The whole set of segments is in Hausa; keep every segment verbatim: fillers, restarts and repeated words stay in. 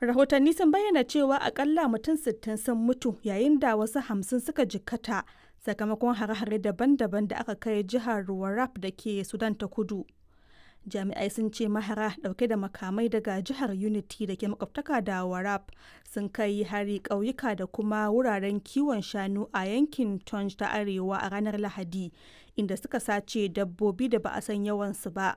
Rahotanni sun bayyana cewa akalla mutum sittin sun mutu yayin da wasu hamsin suka jikkata sakamakon hare-hare daban-daban da aka kai jihar Warrap da ke Sudan ta Kudu. Jami'ai sun ce mahara dauke da makamai daga jihar Unity da ke makwabtaka da Warrap sun kai hari ƙauyuka da kuma wuraren kiwon shanu a yankin Tonj ta Arewa a ranar Lahadi, inda suka sace dabbobi da ba a san yawansu ba.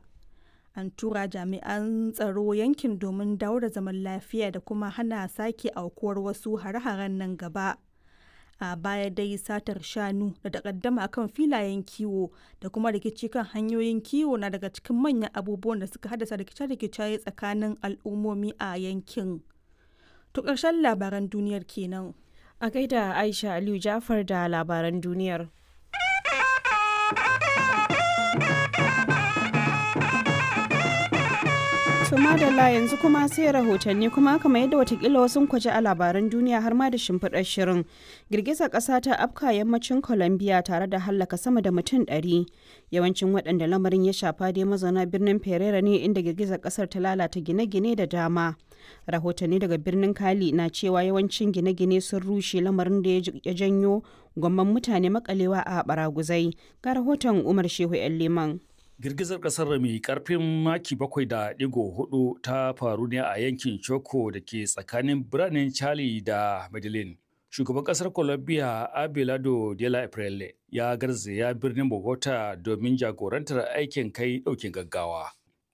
An tura jami'an tsaro yankin domin dawo da zaman lafiya da kuma hana sake aukuwar wasu hare-haren nan gaba. A baya dai satar shanu da takaddama kan filayen kiwo da kuma rikici kan hanyoyin kiwo na daga cikin manyan abubuwan da suka haddasa rikice-rikice tsakanin al'ummomi a yankin. To ƙarshen labaran duniyar kenan. A gaida Aisha Aliyu Jafar da labaran duniyar. To madalla, yanzu kuma sai rahotanni. Kuma kamar yadda watakila wasu kwaje a labaran duniya har ma da shimfiɗar shirin, girgizar ƙasa ta afka yammacin Colombia tare da hallaka sama da mutum ɗari. Yawancin waɗanda lamarin ya shafa dai mazauna birnin Pereira ne, inda girgizar ƙasar ta lalata gine-gine da dama. Rahotanni daga birnin Cali na cewa yawancin gine-gine sun rushe, lamarin da ya janyo gwamman mutane makalewa a baraguzai. Ga rahoton Umar Shehu 'Yan Liman. Girgizar kasar mai karfin maki bakwai da digo hudu ta faru ne a yankin Choco da ke tsakanin biranen Cali da Medellin. Shugaban kasar Colombia Abelardo de la Espriella ya garzaya birnin Bogota domin jagorantar aikin kai daukin gaggawa.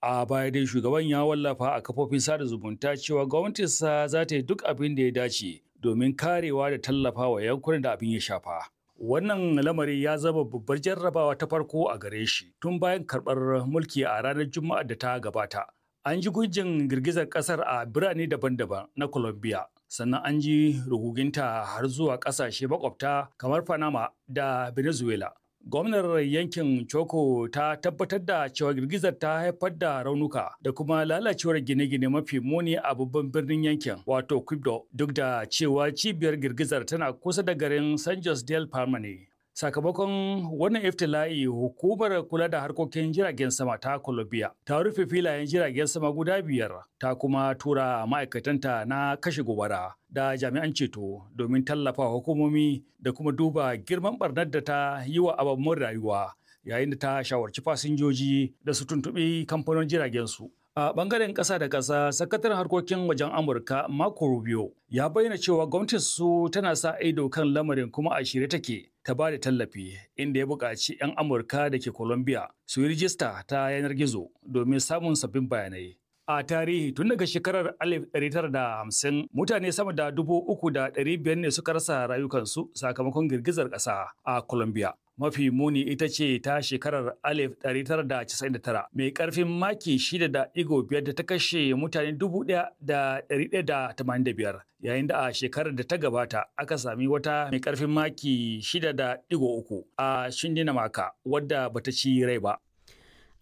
A baya dai shugaban ya wallafa a kafofin sada zumunta cewa gwamnatinsa za ta yi duk abin da ya dace domin karewa da tallafawa yankunan da abin ya shafa. Wannan lamari ya zama babbar jarrabawa ta farko a gare shi tun bayan karɓar mulki a ranar Juma'ar da ta gabata. An ji gujin girgizar ƙasar a birane daban-daban na Colombia, sannan an ji ruguginta har zuwa ƙasashe makwabta kamar Panama da Venezuela. Gwamnar yankin Choco ta tabbatar da cewa girgizar ta haifar da raunuka da kuma lalacewar gine-gine mafi muni a babban birnin yankin, wato Quibdo, duk da cewa cibiyar girgizar tana kusa da garin San Jose del Palma ne. Sakamakon wannan iftila'i, hukumar kula da harkokin jiragen sama ta Colombia ta rufe filayen jiragen sama guda biyar, ta kuma tura ma'aikatanta na kashe gobara da jami'an ceto domin tallafa hukumomi da kuma duba girman barnar da ta yi wa ababen rayuwa, yayin da ta shawarci fasinjoji da su tuntuɓi kamfanin jiragen su. A bangaren ƙasa da ƙasa, sakataren harkokin wajen Amurka Marco Rubio ya bayyana cewa gwamnatin su tana sa ido kan lamarin kuma a shirye take ta ba da tallafi, inda ya buƙaci 'yan Amurka da ke Colombia su yi rijista ta yanar gizo domin samun sabbin bayanai. A tarihi, tun daga shekarar alif ɗari tara da hamsin, mutane sama da dubu uku da ɗari biyar ne suka rasa rayukansu sakamakon girgizar ƙasa a Colombia. Mafi muni ita ce ta shekarar alif ɗari tara da casa'in da tara mai ƙarfin maki shida da ɗigo biyar da ta kashe mutane dubu ɗaya da ɗari ɗaya da tamanin da biyar, yayin da a shekarar da ta gabata aka sami wata mai ƙarfin maki shida da ɗigo uku a Shindinamaka wadda bata ci rai ba.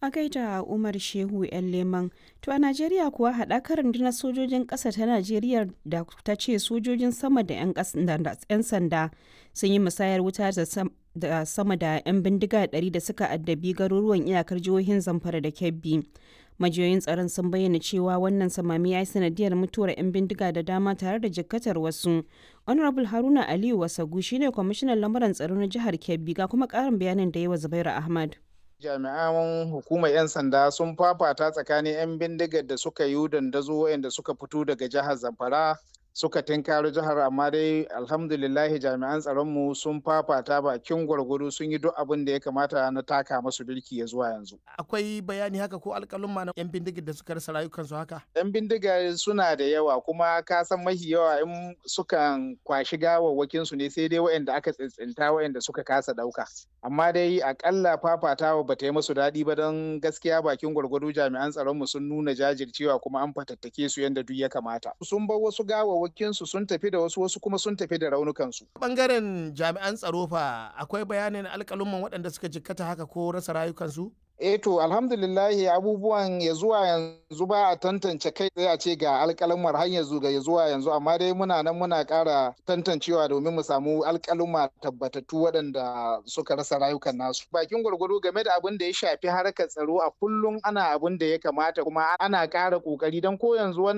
A gaida Umar Shehu 'Yan Leman. To a Najeriya kuwa, haɗakar rundunar sojojin ƙasa ta Najeriya da ta ce sojojin sama da 'yan sanda sun yi musayar wuta da sama da 'yan bindiga ɗari da suka addabi garuruwan iyakar jihohin Zamfara da Kebbi. Majiyoyin tsaron sun bayyana cewa wannan samami ya yi sanadiyar mutuwar 'yan bindiga da dama tare da jikkatar wasu. Honorable Haruna Aliyu Wasagu shine kwamishinan lamuran tsaro na jihar Kebbi, ga kuma ƙarin bayanin da yi wa Zubairu Ahmad. Jami'an hukumar 'yan sanda sun fafata tsakanin 'yan bindigar da suka yi dandazo, waɗanda suka fito daga jihar Zamfara suka tinkaro jihar, amma dai alhamdulillahi jami'an tsaronmu sun fafata bakin gwargwado, sun yi duk abin da ya kamata na taka masu birki ya zuwa yanzu. Akwai bayani haka ko alƙalumma na 'yan bindigar da suka rasa rayukansu haka? 'Yan bindigar suna da yawa, kuma ka san mahi yawa in sukan kwashi gawawwakin su ne, sai dai waɗanda aka tsintsinta, waɗanda suka kasa ɗauka. Amma dai akalla fafatawa ba ta yi musu daɗi ba, don gaskiya bakin gwargwado jami'an tsaronmu sun nuna jajircewa kuma an fatattake su yadda duk ya kamata. Sun bar wasu gawawwakin su, sun tafi da wasu, wasu kuma sun tafi da raunukansu. Bangaren jami'an tsaro fa, akwai bayanin alƙalumman waɗanda suka jikkata haka ko rasa rayukansu? Eh, to alhamdulillahi, abubuwan ya zuwa yanzu ba a tantance kai tsaye a ce ga alƙalumar har yanzu ga zuwa yanzu, amma dai muna nan muna ƙara tantancewa domin mu samu alƙaluma tabbatattu waɗanda suka rasa rayukan nasu. Bakin gwargwado game da abin da ya shafi harkar tsaro, a kullum ana abin da ya kamata kuma ana ƙara ƙoƙari don ko yanzu wannan